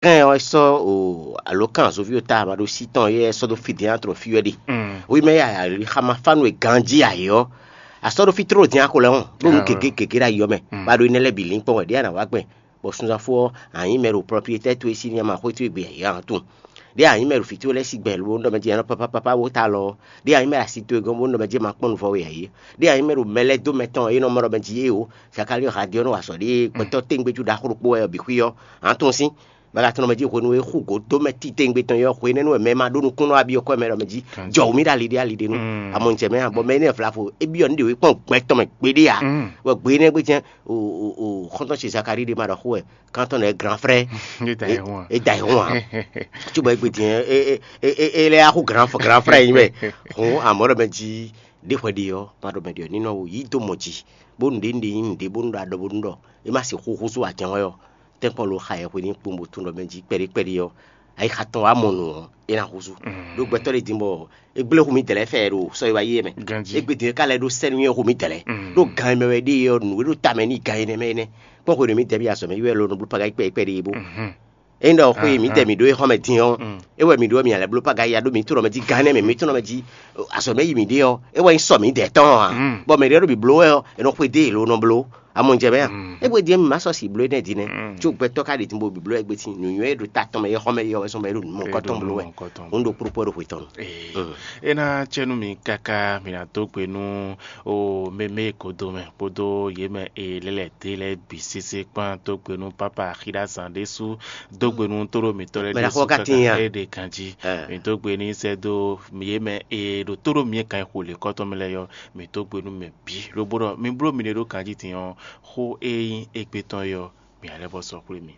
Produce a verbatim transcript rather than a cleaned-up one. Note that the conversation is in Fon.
Kɛn ɔ́, é sɔ́ o alǒkan azɔ̌ví ɔ́ ta ma ɖo sí tɔn yɛ é sɔ́ dó fí din tlɔ fí wɛ ɖe. Wi mɛ ya ali xama fánu e ganjí ayǐ ɔ́, a sɔ́ ɖó fí tló din axo lɛ́ hɔn ɖó nú gěgé gěgé ɖo ayǐ ɔ́ mɛ, bá ɖó énɛ́ lɛ́ɛ bǐ lín kpɔ́n wɛ ɖě a nǎ wá gbɛn, bɔ sunzán fó ɔ́, a nyǐ mɛ ɖo plɔ́plietɛ́ towe sín ní ma xwé towe gbe ayǐ a tún. Ɖě a nyǐ mɛ ɖo fǐ towe lɛ́ɛ sí gbɛ lo nú ɖɔ mɛ jí a nɔ pápá pápá wó ta lɔ ɔ́, ɖě a nyǐ mɛ ɖo asi towe gɔ́n bó nú ɖɔ mɛ jí ma kpɔ́n nuvɔ we ayǐ. Ɖě a nyǐ mɛ ɖo mɛ lɛ́ɛ dó mɛ tɔn e nɔ mɔ ɖɔ mɛ jí é o, Zakalíɔ Hadiɔ nɔ wa azɔ̌ ɖé gbɛtɔ́ téŋgbéjú ɖaxó ɖokpó wɛ ɔ́ bǐ xwí ɔ́, a nǎ tunwun sín. Bɔ a ka tunwun mɛ jí hwenu e xú gǒ dó mɛ titewungbe tɔn é ɔ́, hwenɛ́nu wɛ mɛ e ma ɖó nukúnnú ɔ́ wá byɔ́ kɔ́ mɛ ɖɔ mɛ jí jɔ wǔ mì ɖo ali ɖé ali ɖé nu. Amɔ un jɛ mɛ ǎ, bɔ mɛ énɛ́ vlavo é byɔ́ nǔ ɖě wú kpɔ́n gbɛ tɔn mɛ gbeɖé ǎ. Bɔ gbe énɛ́ gbe jɛ́n xɔ́ntɔn ce Zakalíi ɖé ma ɖɔ xó wɛ, kántɔn lɛ́ɛ gran frère. É da ɛ hɔn ǎ. Cóbɔ é gbe din é lɛ́ axú gran frère nyi mɛ. Hǔn amɔ̌ ɖɔ mɛ jí ɖé hwɛ ɖe ɔ́, ma ɖɔ mɛ ɖe ɔ́ ní nɔ yí dó mɔ jí, bónú ɖě un ɖe nyí nǔɖé bónú ɖo aɖɔ bónú ɖɔ é má sixú húzú ajɔ̌ ɔ́. Tɛ́nkpɔ́n lo xa yɛ hwenu kpowun bó tunwun ɖɔ mɛ jí kpɛɖé kpɛɖé ɔ́, ayixa tɔn wá mɔ nǔ ɔ́, é ná húzú. Ɖó gbɛtɔ́ ɖé din bɔ é gblé hu mì dɛ̌lɛ́ fɛ ɖo sɔ́ e wá yí é mɛ. Ganjí. É gbe din é ka lɛ́ ɖó sɛ́nú nyɔ́ hu mì dɛ̌lɛ́. Ɖó gan e mɛ wɛ ɖée ɔ́, nǔ e ɖo ta mɛ n'i gan énɛ́ mɛ énɛ́. Kpɔ́n hwenu e mǐ dɛ mì azɔ̌ mɛ yi wɛ lo nɔ bló paga yi kpɛɖé kpɛɖé é bó. É ɖɔ xó e mǐ dɛ mǐ ɖó é xɔ́ mɛ din ɔ́, é wɛ mǐ ɖó mǐ lɛ́ bló paga ya ɖó mǐ tunɔ mɛ jí gan énɛ́ mɛ mǐ tunɔ mɛ jí azɔ̌ mɛ yi mǐ ɖe ɔ́, é wɛ nyí sɔ mǐ dɛ tɔn ǎ. Bɔ mɛ ɖě ɖo bǐ bló wɛ ɔ́, è nɔ xwedó yě lo nɔ bló. Amɔ un jɛ mɛ a? É hwedó mǐ ma sɔ́ si bló énɛ́ din nɛ́. Có gbɛtɔ́ ka ɖe din bó bǐ bló wɛ gbe sín nǔnywɛ́ e ɖo ta tɔn mɛ é xɔ́ mɛ é ɔ́ wɛ sɔ́ mɛ é ɖo nǔ mɔkɔtɔn bló wɛ. Hǔn ɖo kplɔ́kpɔ́ ɖo hwe tɔn. Mm. É ná cɛ nú mi káká mi ná dó gbe nú o mɛmɛ e kodo mɛ kpódó yě mɛ e lɛ́lɛ̌ dé lɛ́ɛ bǐ sésé kpán dó gbe nú pápá axíɖázán ɖésú dó gbe nú tóɖó mǐtɔn lɛ́ɛ Mɛ ɖaxó ɖésú ka tín káká ya. É ɖe ganjí. Mi dó gbe ní sɛ́ dó yě mɛ e ɖo tóɖó mǐ e kan xo lě kɔ́tɔn mɛ lɛ́ɛ yɔ, mi dó gbe nú mɛ bǐ lobo ɖɔ mi bló miɖée ɖó ganjí din ɔ́, xó e nyí égbé tɔn é ɔ́, mi ná lɛ́ vɔ sɔ́ xwlé mi.